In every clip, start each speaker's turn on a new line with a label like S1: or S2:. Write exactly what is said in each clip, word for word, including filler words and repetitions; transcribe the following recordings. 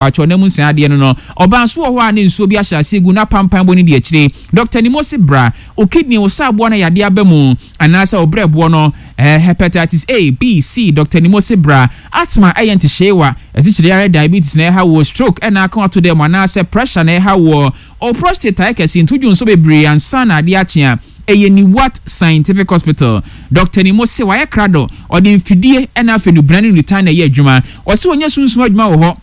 S1: Atwɔ na mu nsan adeɛ no no ɔbaa nso wɔ hɔ a, ne nsuo bi ahyɛ aseɛ gu na pampan bɔ ne di akyire. Doctor Nimosi, bra. O kidney, wo saaboɔ no yadeɛ aba mu anaasɛ wo brɛboɔ no, eh, hepatitis A, B, C, Doctor Nimosi, bra. Asthma ɛyɛ ntehyeewa, asikyire yare, diabetes na ɛha wo, stroke ɛna aka ato dɛm anaasɛ pressure na ɛha wo, o prostate ayɛ kɛse nto dwo nso bebree ansa na adeɛ akye a, ɛyɛ Niwat Scientific Hospital. Doctor Nimosi wayɛ krado, ɔde mfidie ɛna afei nubena ne nutan na ɛyɛ adwuma. Ɔsi ɔnyɛ sunsum adwuma wɔ hɔ,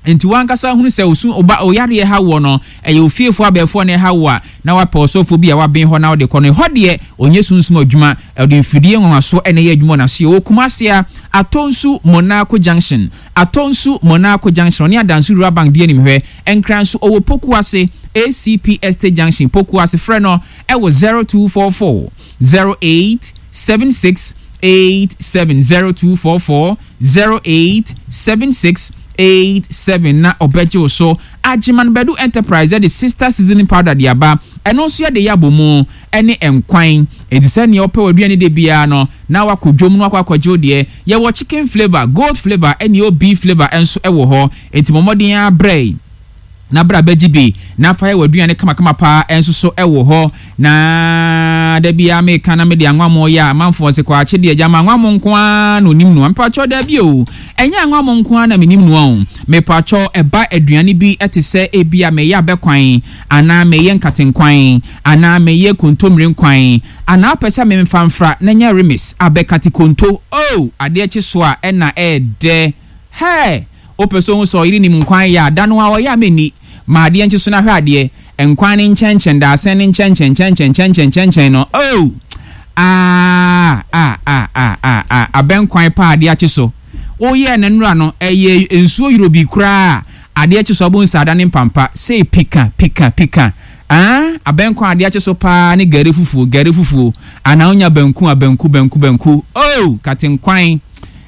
S1: nti wankasa hunu sɛ osu ɔba ɔyareɛ ha wɔ no, ɛyɛ ofiefoɔ abɛɛfoɔ na ɛha wɔ a, na wapɛ ɔsɔfoɔ bi a waben hɔ na ɔde kɔ no hɔ deɛ, ɔnyɛ sunsum adwuma, ɔde mfidie nwanwaso ɛna ɛyɛ adwuma. Ɔna so yɛ wɔ Kumase a, Atonsu Monaco Junction, Atonsu Monaco Junction, ɔne Adanso Rural Bank di anim hwɛ. Nkran so ɔwɔ Pokuase A C P Estate Junction, Pokuase. Frɛ no ɛwɔ zero two four four zero eight seven six eight seven, zero two four four zero eight seven six eight seven na ɔbɛgye wo so. Agyeman Badu Enterprise ɛde Sister Seasoning Powder de aba. Ɛno nso yɛde yɛ abɔ ɛne nkwan, eti sɛ nea ɔpɛ w'aduane de biara no na wakɔ dwom no akɔ akɔgye wo deɛ. Yɛwɔ chicken flavour, goat flavour, ɛne o beef flavour nso ɛwɔ hɔ, eti mɔmɔden abrɛ na bra bɛgye bi na fa yɛ w'aduane kamakama paa. Ɛnso so ɛwɔ hɔ na da biara meka na mede anwammo yɛ a, amanfoɔ sɛ kɔ deɛ gyama anwammo nko ara na onim noa. Mepakyɛw, daabi o, ɛnyɛ anwammo nko ara na menim noa o. Mepakyɛw, ɛba aduane bi ɛte sɛ ebi a meyɛ abɛkwan anaa meyɛ nkatenkwan anaa meyɛ kontommire nkwan anaa wopɛ sɛ memfa mfra na nyɛ remis abɛkate konto o, adeɛ kye so a ɛna ɛɛdɛ hɛ. Wopɛ sɛ ohu sɛ ɔyere nim nkwan yɛ a, da no a ɔyɛ a menni ma adeɛ nkye so na hwɛ adeɛ nkwan ne nkyɛnkyɛn daasɛn ne nkyɛnkyɛn nkyɛnkyɛn nkyɛnkyɛn nkyɛnkyɛn no oh, ah ah ah ah ah ah, abɛnkwan pa adeɛ akye so, woyɛ ne nnora no ɛyɛ nsuo yoro bi koraa, adeɛ kye so abo nsaada ne mpampa sei pika pika pika. Ah, abɛnkwan adeɛ akye so paa ne gari fufuo, gari fufuo anaa wonya banku a, banku, banku, banku oh, katenkwan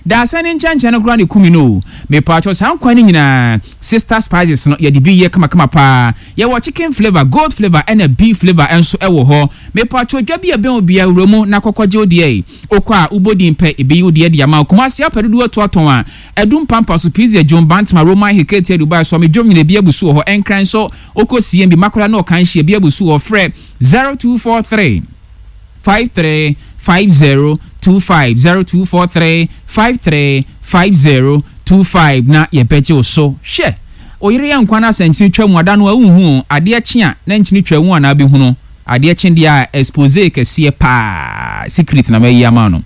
S1: daasa ne nkyɛnkyɛn no koraa ne kumi no. Mepatwɔ, saa nkwan no nyinaa Sister Spices no yɛde bi yɛ kamakama paa. Yɛwɔ chicken flavour, goat flavour ɛna beef flavour nso ɛwɔ hɔ. Mepatwɔ, dwa bi a ɛbɛn obiara wura mu na kɔkɔgye wo deɛ. Okɔ a wobɔ pɛ ebi yi wo deɛ de ama. Kumasi apɛ dodoɔ atu atɔn a, Ɛdum Pampa so, Pizza Dwom, Bantama, Roman Hekete, Dubai so dwom nyina ebi abu so wɔ hɔ. Ɛnkran so okɔ C M B Makola na ɔkan hyia ebi abu so wɔ. Frɛ zero two four three five three five zero two five, zero two four three five three five zero two five na yɛbɛgye wo so. Hwɛ, oyere yɛ nkwa no asɛnkyene twa mu ada no a, wonhu adeɛ kye a na nkyene twa mu anaa bɛhunu adeɛ kye deɛ a, expose kɛseɛ paa, secret na mayi ama no.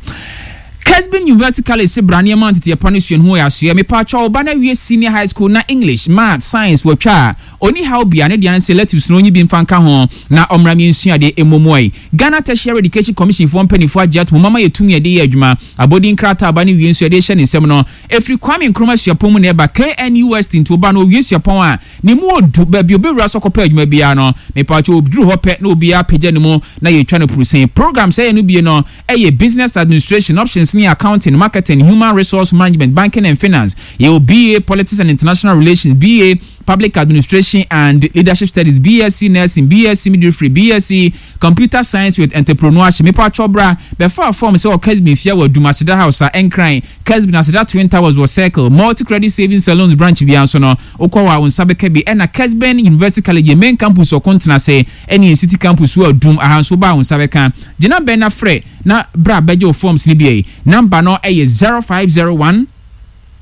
S1: Kesbin University College se bra nneɛma nteteɛ pa no sua no ho yɛ asoɛ. Mepatwa, ɔba no awie senior high school na English, Math, Science wɔtwa a, ɔni haw bia ne deɛ nsɛ electives no ɔnyi bi mfa nka ho na ɔmmra mi nsua deɛ ɛmmɔ yi. Ghana Tertiary Education Commission foɔ mpanimfoɔ agye ato mu mama yɛtumi yɛde yɛ adwuma. Abɔdin krataa aba no wie nso yɛde hyɛ ne nsɛm no ɛfiri Kwame Nkrumah Suapɔn mu na ɛba K N U S T. Nti ɔba no owie suapɔn a ne mu odu baabi obɛwura so kɔpɛ adwuma biara no, mepatwa, obduru hɔ pɛ na obiara apagya ne mu na yɛtwa no purusen. Program sɛ yɛ no bie no ɛyɛ business administration options ne accounting, marketing, human resource management, banking and finance. Yɛwɔ B A Politics and International Relations, B A Public Administration and Leadership Studies, B S C Nursing, B S C Midwifery, B S C Computer Science with Entrepreneurship. Mepa bra bɛfa form sɛ wɔ Kesbin fia wɔ Dumaseda House a Ɛnkran Kesbin Aseda Twin Towers wɔ Circle Multi Credit Savings and Loans branch bia nso no, wokɔ wɔ a wo nsa bɛka bi. Ɛna Kesbin University College yɛ main campus ɔko ase ɛne yɛn city campus wɔ Adum aha nso ba a wo nsa bɛka. Gyina bɛn na frɛ na bra bɛgye wo forms no bi. Number no ɛyɛ zero five zero one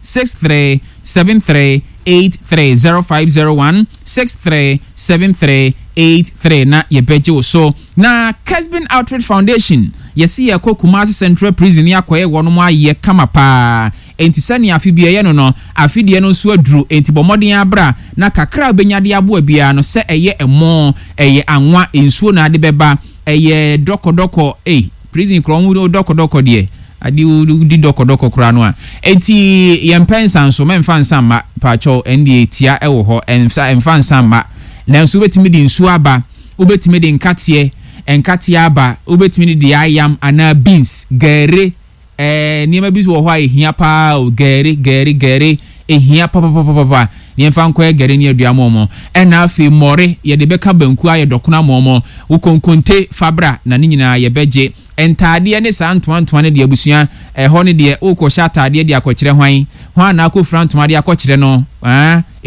S1: six three seven three eight three, zero five zero one six three seven three eight three na yɛbɛgye wo so. Na Kesbin Outreach Foundation yɛsi yɛkɔ Kumasi Central Prison ne akɔyɛ wɔn ayɛ kama paa. Enti sɛnea afe bi ɛyɛ no no afe deɛ no nso aduru, enti bɔ mmɔden abra na kakra a wobɛnya de aboa biara no, sɛ ɛyɛ ɛmo, ɛyɛ anwa, nsuo na ade bɛba, ɛyɛ dɔkɔdɔkɔ. Ei, prison korɔ ho dɔkɔdɔkɔ deɛ, ade di dɔkɔdɔkɔ koraa no a, eti yɛmpɛ nsa nso mɛmfa nsa mma paakyɛw. Ɛndeɛ tia ɛwɔ hɔ, ɛnfa ɛmfa nsa mma, nanso wobɛtumi de nsuo aba, wobɛtumi de nkateɛ nkateɛ aba, wobɛtumi de deɛ ayam anaa beans, gɛre, ɛɛ nneɛma bi wɔ hɔ a ehia paa o. Gɛre, gɛre, gɛre ehia papapapapa. Nneɛma nkɔyɛ gɛre ne adua mɔmɔ, ɛna afei mmɔre yɛde bɛka banku ayɛ dɔkono amɔmɔ, wokonkonte fabra na ne nyinaa yɛbɛgye. Ntaadeɛ ne saa ntoantoa no deɛ, abusua, ɛhɔ no deɛ wokɔhyɛ ataadeɛ de akɔkyerɛ hwan Hwan na akɔfira ntoma de akɔkyerɛ no? Ɛn eti.